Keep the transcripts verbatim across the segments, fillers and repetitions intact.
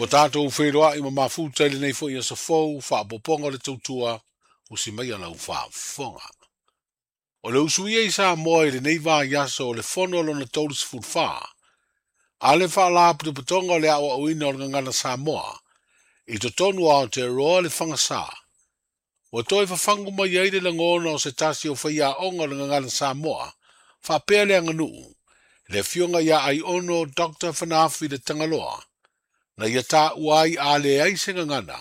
Ua tatou feiloai ma mafuta i lenei foi aso fou, faaopoopoga o le tautua, usi mai lau faafofoga. O le usuia i Samoa i lenei vaiaso o le fono lona tolusiefulu fa, a le faalapotopotoga o le aoaoina o le gagana Samoa, i totonu o Aotearoa le Fagasa. Ua toe fafagu mai ai le lagona o se tasi o faiaoga o le gagana Samoa, faapea le aganuu, le afioga ia Aiono Doctor Fanaafi le Tagaloa, na ia taua ai a leai se gagana,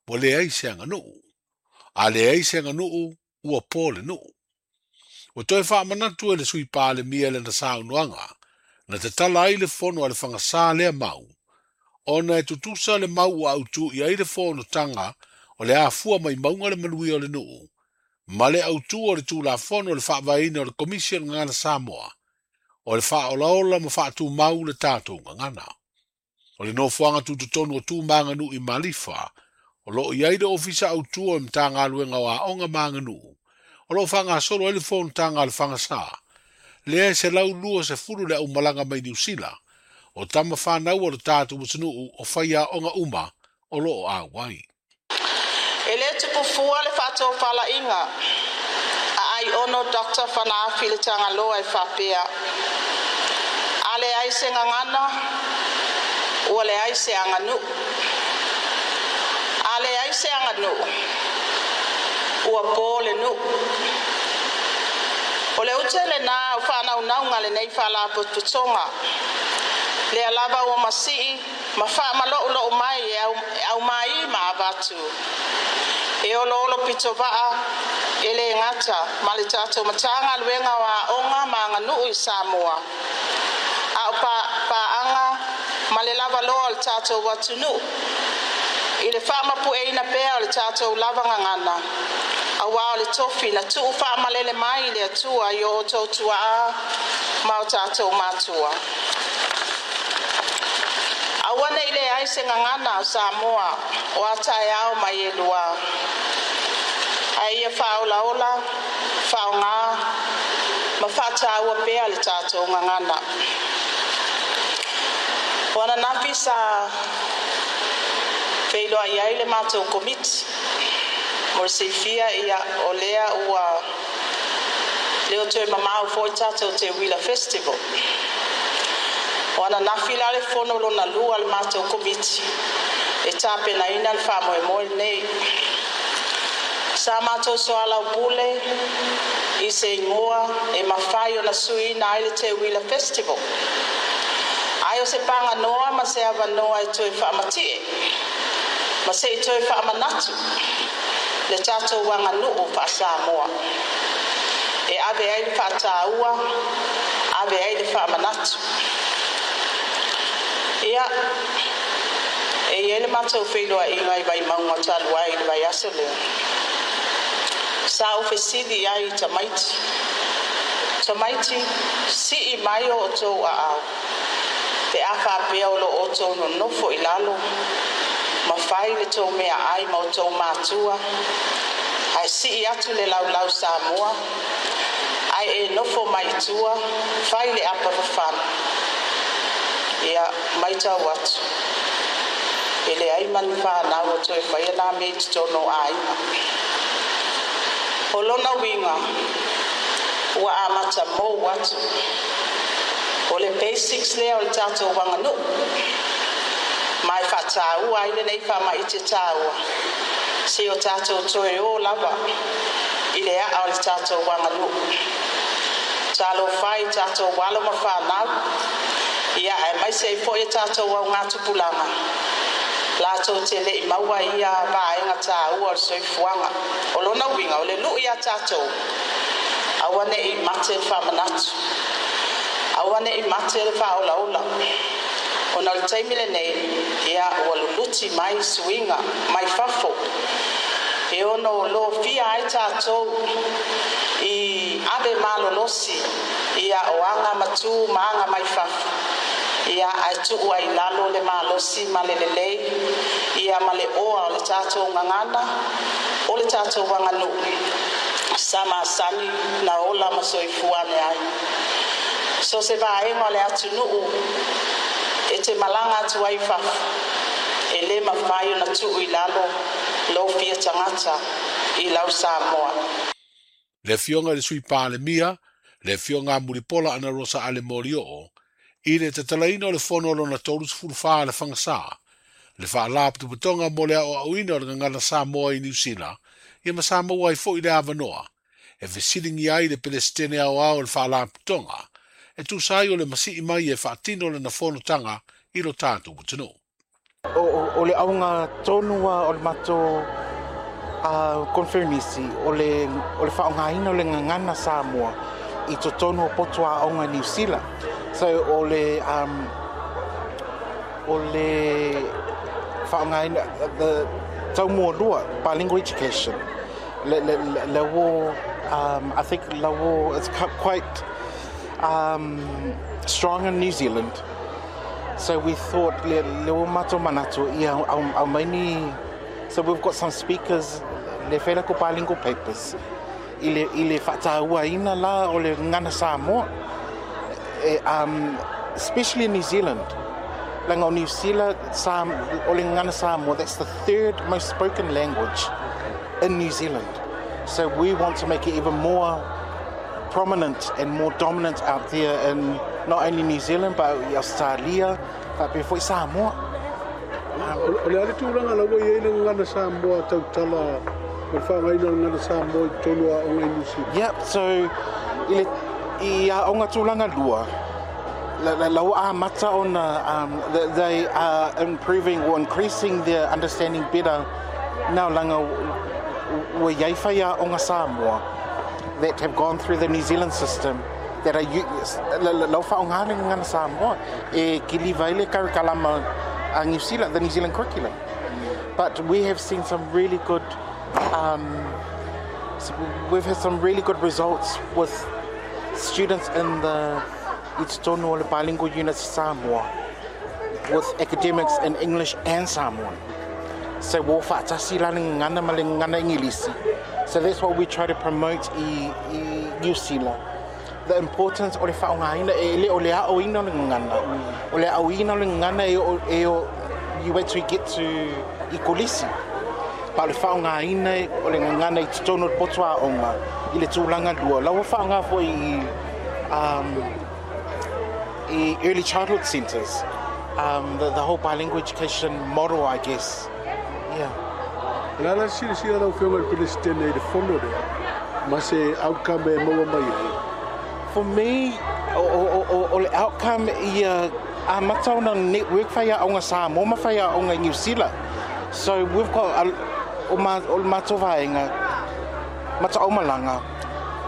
ua leai se aganuu. A leai se aganuu, ua po le nuu. Ua toe faamanatu e le sui Palemia lana saunoaga, na tatala ai le fono a le Fagasa lea mau, ona e tutusa le mau ua autu i ai le fonotaga o le afua mai mauga le manuia o le nuu, ma le autu o le Tulafono o le faavaeina o le Komisi o le Gagana Samoa, o le faaolaola ma faatumau le tatou gagana. O le nofoaga tutotonu o tu ma aganuu i Malifa, o loo i ai le ofisa autu o le Matagaluega o Aoga ma Aganuu, o loo faagasolo ai le fonotaga a le Fagasa, lea e selau luasefulu le aumalaga mai Niu Sila, o tama fanau o le tatou atunuu o faiaoga uma o loo auai. E le tupufua le faatofalaiga a Aiono Doctor Fanaafi le Tagaloa e faapea, a leai se gagana, ua leai se aganuu. A leai se aganuu, ua po le nuu. O le ute lena o faanaunauga lenei faalapotopotoga, lea lava ua masii ma faamalolou mai e aumai ma avatu. E oloolo pitovaa e le gata ma le tatou Matagaluega o Aoga ma Aganuu i Samoa. A o paaga ma le lavaloa o le tatou atunuu i le faamapueina pea o le tatou lava gagana, auā o le tofi na tuu faamalele mai i le Atua i o outou tuaa ma o tatou matua. Aua nei leai se gagana o Samoa o a taeao mai e lua. Ae ia faaolaola, faaaogā ma faataua pea le tatou gagana. O ananafi sa feiloai ai le matou komiti mo le silafia ia o lea ua le o toe mamao foi tatou Teuila Festival. O ananafi la le fono lona lua le matou komiti e tapenaina le faamoemoe lenei. Sa matou soalaupule i se igoa e mafai ona suiina ai le Teuila Festival. Ai o se paganoa ma se avanoa e toe faamatie ma se i toe faamanatu le tatou aganuu faa-Samoa. E ave ai le faataua, ave ai le faamanatu. Ia, e i ai le matou feiloaiga i Vaimauga talu ai i le vaiaso lea. Sa ou fesili ai i tamaiti. Tamaiti, sii mai o outou aao, pe a faapea o lo outou nonofo i lalo, ma fai le tou meaai ma outou matua, ae sii atu le laulau Samoa, ae e nofo mai i tua, fai le apa fafana. Ia, maitau atu, e leai ma ni fanau o toe faia nā mea i totonu o aiga. O lona uiga, ua amata mou atu. O le basics lea o le tatou aganuu. Ma e faataua ai lenei faamaite taua, se o tatou toe o lava i le aa o le tatou aganuu. Talofa i tatou alo ma fanau, ia aemaise ai foi e tatou augatupulaga, latou te le'i maua ia vaega taua o le soifuaga. O lona uiga o le lui ia tatou, aua ne'i mate le faamanatu, aua ne'i mate le faaolaola. Ona o le taimi lenei, ia ua luluti mai suiga mai fafo, e ono lofia ai tatou i ave malolosi ia o aga matu ma aga mai fafo. Ia ae tuu ai lalo le malosi ma le lelei, ia ma le oa o le tatou gagana, o le tatou aganuu, sa masani na ola ma soifua ane ai. So se vaega o le atunuu e te malaga atu ai fafo, E lē mafai ona tu'u i lalo lou fia tagata i lau Samoa. Le afioga i le Sui Palemia, le afioga Mulipola Anarosa Ale Molioo, i le tatalaina o le fono lona tolu sefulu fa le Fagasā, le Faalapotopotoga mo le Aoaoina o le Gagana Samoa i Niu Sila, ia ma sa maua ai fo'i le avanoa e fesiligia ai le Pelesitene Aoao o le Faalapotopotoga e tusa ai o le masii mai e faatino lana fonotaga i lo tatou atunuu. O, o, o le auga tonu o le matou uh, conference o le, o le faaaogaina o le gagana Samoa i totonu o poto aoga Niu Sila. So o le um, o le faaaogaina the taumualua bilingual education le le le, le wo um, I think la wo it's quite um, strong in New Zealand. So we thought le le o matou manatu ia au, au maini. So we've got some speakers le fela ko bilingual papers i le i le faatauaina la o le gagana Samoa e, um, especially in New Zealand. Langa o New Zealand Sam, o le gagana Samoa, that's the third most spoken language in New Zealand. So we want to make it even more prominent and more dominant out there in not only New Zealand but Australia, but before Samoa. O le a le tulaga la ua i ai le gagana Samoa tautala o le faaaogaina o le gagana Samoa i totonu o aoga i Niu Sila? Yep, so i le i aoga tulaga lua la, la, la ua amata ona um, they are improving or increasing their understanding better now langa ua iai faiaoga Samoa that have gone through the New Zealand system that are lau faaaoga le gagana Samoa e kiliva ai le karikalama a New Zealand, the New Zealand curriculum. But we have seen some really good um, so we've had some really good results with students in the i totonu o le bilingual units Samoa with academics in English and Samoan. So ua faatasi la le gagana ma le gagana Igilisi. So that's what we try to promote i, i New Zealand. The importance o le faaaogaina e le o le aoina o le gagana. O le aoina o le gagana e o, e o you wait till you get to i kolisi. Pa o le faaaogaina o le gagana i totonu o le poto aoga i le tulaga lua. La ua faaaoga foi i um, i early childhood centres. Um, the, the whole bilingual education model, I guess. Yeah. La la silasila lau afioga i le Pelesitene i le fono lea ma se outcome e maua mai ai? For me, o, o, o, o le outcome ia amata ona network faiaoga Samoa ma faiaoga i New Zealand. So we've got a, o, ma, o le matou vaega mataomalaga,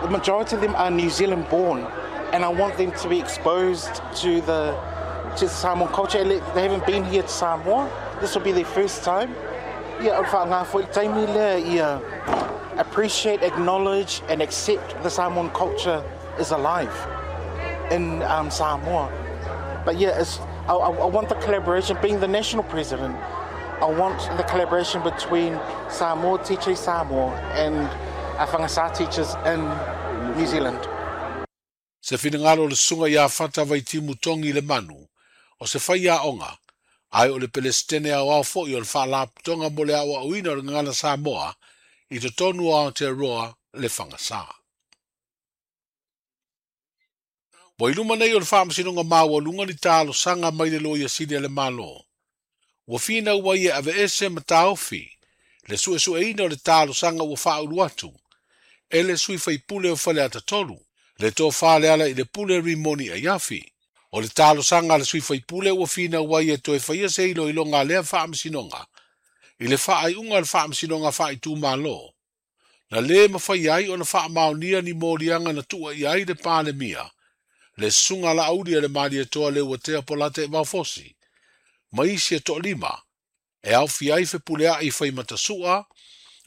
the majority of them are New Zealand born, and I want them to be exposed to the to the Samoan culture. They haven't been here to Samoa. This will be their first time. Ia, o le faaaoga foi le taimi lea ia appreciate, acknowledge and accept the Samoan culture is alive in um, Samoa. But yeah, it's, I, I, I want the collaboration, being the national president, I want the collaboration between Samoa teachers Samoa and Fagasā teachers in New Zealand. Se finagalo o le susuga ia Fata Vaitimu Togi Lemanu, o se faiaoga, ae o le Pelesitene Aoao fo'i o le Faalapotopotoga mo le Aoaoina o le Gagana Samoa i totonu o Aotearoa le Fagasā. Ua i luma nei o le Faamasinoga Maualuga ni talosaga mai le Loia Sili a le Malo. Ua finau ai e aveese ma taofi le suesueina o le talosaga ua faaulu atu e le sui faipule o Faleata Tolu, le Tofa Lealailepule Rimoni Aiafi. O le talosaga a le sui faipule ua finau ai e toe faia se iloiloga a lea faamasinoga i le faaiuga o le Faamasinoga Faaitumalo na lē mafai ai ona faamaonia ni moliaga na tuuaia ai le Palemia, le Susuga Laauli a le Malietoa Leuatea Polataivao Fosi, ma isi e toalima e aofia ai Fepuleai Faimatasoa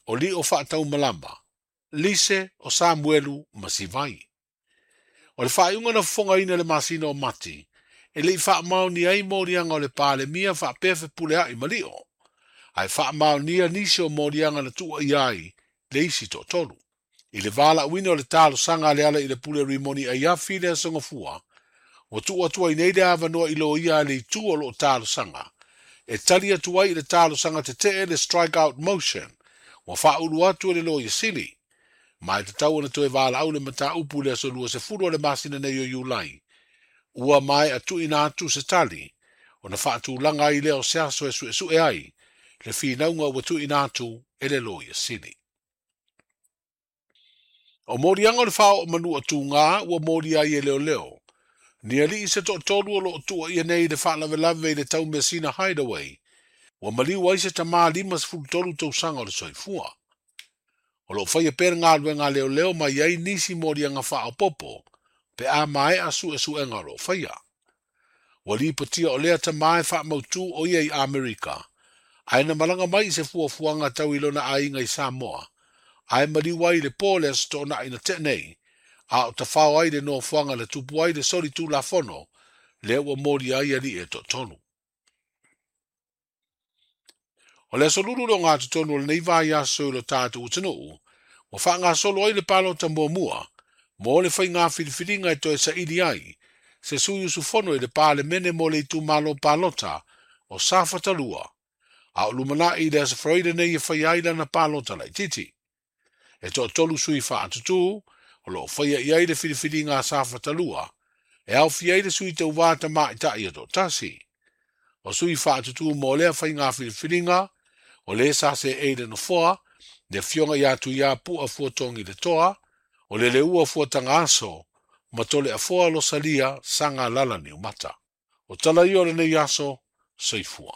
o Lio Faataumalama, Lise o Samuelu ma Sivai. O le faaiuga na fofogaina le masina o Mati e le'i faamaonia ai moliaga o le Palemia faapea Fepulea'i ma Lio, ae faamaonia nisi o moliaga na tuuaia ai le isi toatolu. I le valaauina o le talosaga a Lealailepule Rimoni Aiafi le aso Gafua, ua tuu atu ai nei le avanoa i loia a le itu o loo talosaga E tali atu ai i le talosaga tetee le strike out motion ua faaulu atu e le Loia Sili. Ma e tatau ona toe valaau le mataupu i le aso luasefulu o le masina nei o Iulai. Ua maea tuuina atu se tali ona faatulaga ai lea o se aso e suesue ai le finauga ua tuuina atu e le Loia Sili. O moliaga o le faaoo manu tuga ua molia ai e leoleo. Ni alii se toatolu o loo tuuaia nei i le faalavelave i le Taumeasina Hideaway. Ua maliu ai se tamā lima sefulu tolu tausaga o le soifua. O loo faia pea le galuega a leoleo ma i ai nisi moliaga faaopopo pe a maea suesuega o loo faia. Ua lipotia o lea tamā e faamautū o ia i Amerika. Ae na malaga mai i se fuafuaga tau i lona aiga i Samoa. Ae maliu ai le po le aso Toonai na tea nei. A o tafao ai le nofoaga na tupu ai le soli tulafono lea ua molia ai alii e toatolu. O le aso Lulu le ogatotonu o lenei vaiaso i lo tatou atunuu, ua faagasolo ai le palota muamua mo le faiga filifiliga e toe saili ai se sui usufono i le Palemene mo le itumalo palota o Safata lua, a o lumanai i le aso Faraile nei e faia ai lana palota laitiiti. E toatolu sui faatutū o loo faia i ai le filifiliga a Safata lua, e aofia ai le sui tauvā tamaitai e toatasi. O sui faatutū mo lea faiga filifiliga, o le sa seei le nofoa, le afioga ia Tuiapu'a Fuatogi le Toa, o le Leua Fuatagaaso, ma Toleafoa Losalia Sagalala Niumata. O tala ia o lenei aso, soifua.